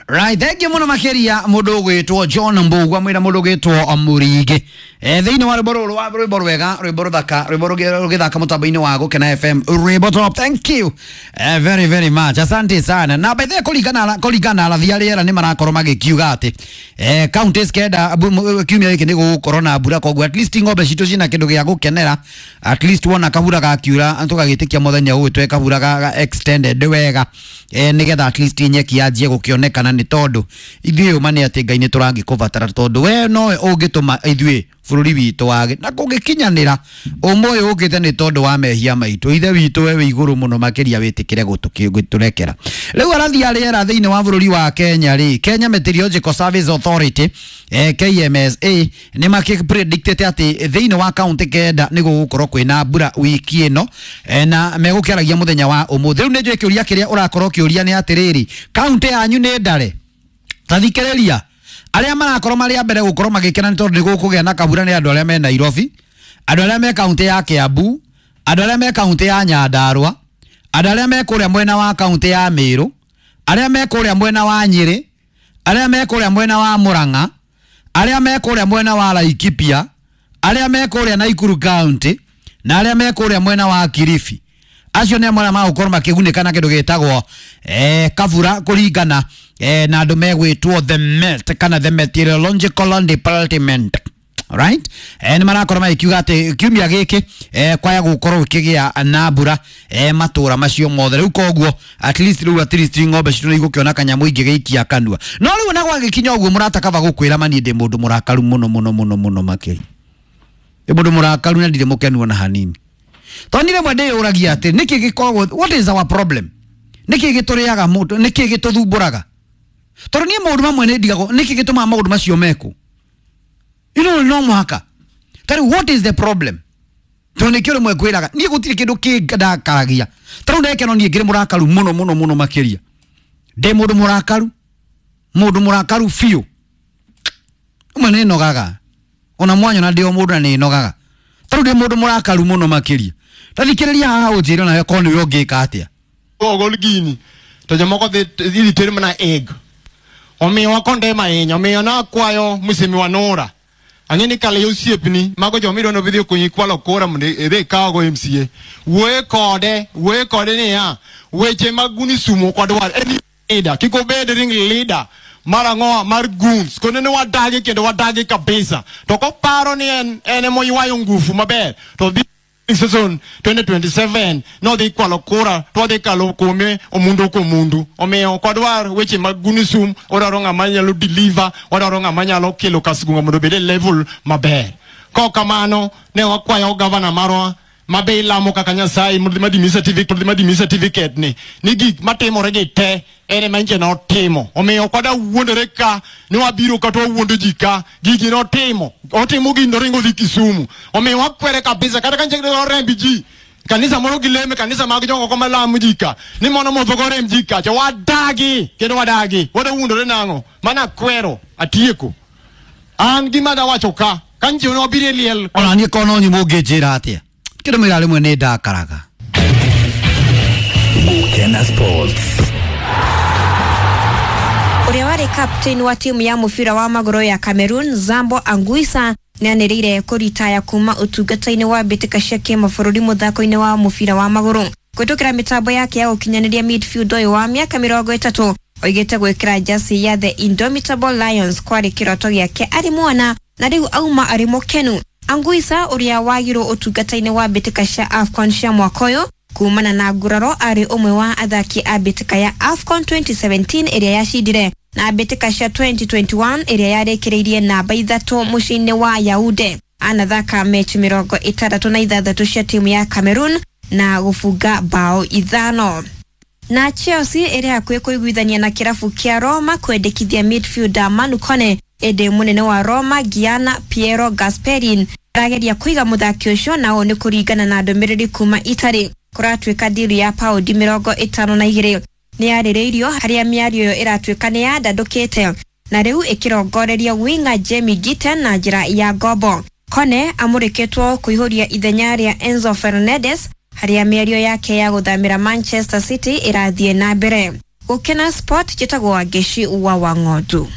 Right, thank you muno makiria mundu ugwitwo John Mbugua mwira mundu ugwitwo Murigi. Thiini wa rwimbo ruru wa rwimbo rwega, rwimbo ruthaka, rwimbo rugithaka mutambo-ini wa Gukena FM, rwimbo top. Thank you very very much, asante sana. Na by the way, kuringana arathi a rĩera nĩ marakorwo magĩkiuga atĩ counties kenda kiumia gĩkĩ nĩ gũgũkorwo na mbura, koguo at least ng'ombe citũ cina kĩndũ gĩa gũkenera. At least wona kabura gakiura tũgagĩtĩkia mũthenya ũyũ twe kabura ga extended wega, nĩgetha at least nyeki yanjie gũkĩonekana, nĩ tondũ ithuĩ ũma nĩ atĩ Ngai nĩ tũrangĩkũbatara, tondũ we nowe ũngĩtũma ithuĩ bũrũri witũ wage na kũngĩkinyanĩra ũma ũyũ ũkĩte nĩ tondũ wa mehia maitũ. Ithe witũ we wĩ igũrũ mũno makĩria, wĩtĩkĩre gũtũrekera. Rĩu arathi a rĩera thĩinĩ wa bũrũri wa Kenya rĩ, Kenya Meteorological Service Authority, KMSA, nĩ makĩpredictĩte atĩ thĩinĩ wa kaunti 9 nĩ gũgũkorwo kwĩna mbura wiki ĩno, na megũkĩaragia mũthenya wa ũmũthĩ. Rĩu nĩ njũĩ kĩũria kĩrĩa ũrakorwo ũkĩũria nĩ atĩrĩrĩ, kaunti yanyu nĩ ndare? Tathikĩrĩria, arĩa marakorwo marĩ a mbere gũkorwo magĩkena nĩ tondũ nĩ gũkũgĩa na kabura nĩ andũ arĩa me Nairobi, andũ arĩa me kaunti ya Kiambu, andũ arĩa me kaunti ya Nyandarua, andũ arĩa me kũrĩa mwena wa kaunti ya Meru, arĩa me kũrĩa mwena wa Nyĩrĩ, arĩa me kũrĩa mwena wa Murang'a, arĩa me kũrĩa mwena wa Laikipia, arĩa me kũrĩa Nakuru county, na arĩa me kũrĩa mwena wa Kilifi. Acio nĩ amwe arĩa magũkorwo makĩgunĩka na kĩndũ gĩtagwo kabura kũringana na andũ megwĩtwo the Met kana the Meteorological Department. Right? Nĩ marakorwo magĩkiuga atĩ kiumia gĩkĩ kwaya gũkorwo gũkĩgĩa na mbura matũra macio mothe. Rĩu koguo at least, rĩu at least ng'ombe citũ nĩ igũkĩona kanyamũ ingĩgĩikia kanua. No rĩu ona gwagĩkinya ũguo, mũrata, kaba gũkwĩra mani ndĩ mũndũ mũrakaru mũno mũno mũno mũno makĩria. Ndĩ mũndũ mũrakaru na ndirĩ mũkenu ona hanini, tondũ niĩ rĩmwe ndĩyũragia atĩ nĩkĩ gĩkoragwo, what is our problem, nĩkĩ gĩtũrĩaga mũndũ, nĩkĩ gĩtũthumbũraga? Tondũ niĩ maũndũ mamwe nĩ ndigagwo nĩkĩ gĩtũmaga maũndũ macio mekwo, no mũhaka ta rĩu, what is the problem? Tondũ nĩkĩo rĩmwe ngwĩraga niĩ gũtirĩ kĩndũ kĩndakaragia. Ta rĩu ndekeno niĩ ngĩrĩ mũrakaru mũno mũno mũno makĩria, ndĩ mũndũ mũrakaru, mũndũ mũrakaru biũ. Ũmwe nĩ nogaga ona mwanyona ndĩ o mũndũ na nĩ nogaga. Ta rĩu ndĩ mũndũ mũrakaru mũno makĩria. Tathikĩrĩria haha ũnjĩre nawe korwo nĩwe ũngĩka atĩa. Ogol gini to jomoko dhi idhi ter mana egg, omiyo wakondem ahinya. Omiyo nakwayo Mheshimiwa Nura, ang'e ni kale osiepni mago joma idwa nobidhi okonyi kwalo kura mondo idhi ikawgo MCA, wuoye kode, wuoye kode niya weche mag gunism ok wadwar. En leader kik obed ring leader mar ang'owa mar goons kone ne wadagi kendo wadagi kabisa. To koparo ni en emoywayo ngufu maber to dhi season 2027 nodhi kwalo kura to wadhi kalo kuome omundu komundu. Omiyo ok wadwar weche mag gunism, wadwaro ng'ama nyalo deliver, wadwaro ng'ama nyalo kelo Kasgunga mondo obed e level maber. Kok kamano ne wakwayo gavana marwa mabe ilamo kaka Nyasaye mondo madimi certificate, madimi certificate ni gik matimore gi te en ema nche notimo. Omiyo ok wadwa wuondore ka ni wabiro kata wawuondo ji ka gigi notimo, otimo gini noringo dhi Kisumu. Omiyo wakwere kabisa, kata ka nche oremb ji kanisa moro gileme kanisa mag jomoko malamo ji ka ni mondo modho goremb ji kacha, wadagi kendo wadagi. Wadwa wuondore nang'o? Mana kwero atieko. An gima dawacho ka nche wabiro e liel. Ona niĩ korwo no nyumo ũngĩnjĩra atĩa kĩndũ mwĩra rĩmwe nĩ ndakaraga. Gukena Sports. Ũrĩa warĩ captain wa timu ya mũbira wa magũrũ ya Cameroon, Zambo Anguissa, nĩanĩrĩire kũritaya kuma ũtungata-inĩ wa mbĩtĩka cia kĩmabũrũri mũthako-inĩ wa mũbira wa magũrũ. Kũhĩtũkĩra mĩtambo yake ya ũkinyanĩria, midfield ũyũ wa mĩaka 30 oigĩte gwĩkĩra jasi ya the Indomitable Lions kwarĩ kĩroto gĩake arĩ mwana na rĩu auma arĩ mũkenu. Anguissa, ũrĩa wagirwo ũtungata-inĩ wa mbĩtĩka cia AFCON cia mwaka ũyũ kumana na nguraro, arĩ ũmwe wa athaki a mbĩtĩka ya AFCON 2017 ĩrĩa yacindire na mbĩtĩka cia 2021 ĩrĩa yarĩkĩrĩirie namba 3 mũciĩ-inĩ wa Yaounde. Anathaka mechi 66 cia timu ya Cameroon na gũbunga bao 5. Na Chelsea ĩrĩ hakuhĩ kũiguithania na kĩrabu kĩa Roma kwendekithia midfielder Manu Kone, ĩndĩ mũnene wa Roma Gianna Piero Gasperin arageria kũiga mũthaki ũcio, na ũũ nĩ kũringana na ndũmĩrĩri kuma Italy. Kũratuĩka ndiru ya paundi 52 nĩ yarĩrĩirio, harĩa mĩario ĩyo ĩratuĩka nĩ yandandũkĩte na rĩu ĩkĩrongoreria winga Jamie Gittens na njĩra ya ngombo. Kone amũrĩkĩtwo kũihũria ithenya rĩa Enzo Fernandez, harĩa mĩario yake ya gũthamĩra Manchester City ĩrathiĩ na mbere. Gukena Sport njĩtagwo Wangeci wa Wang'ondu.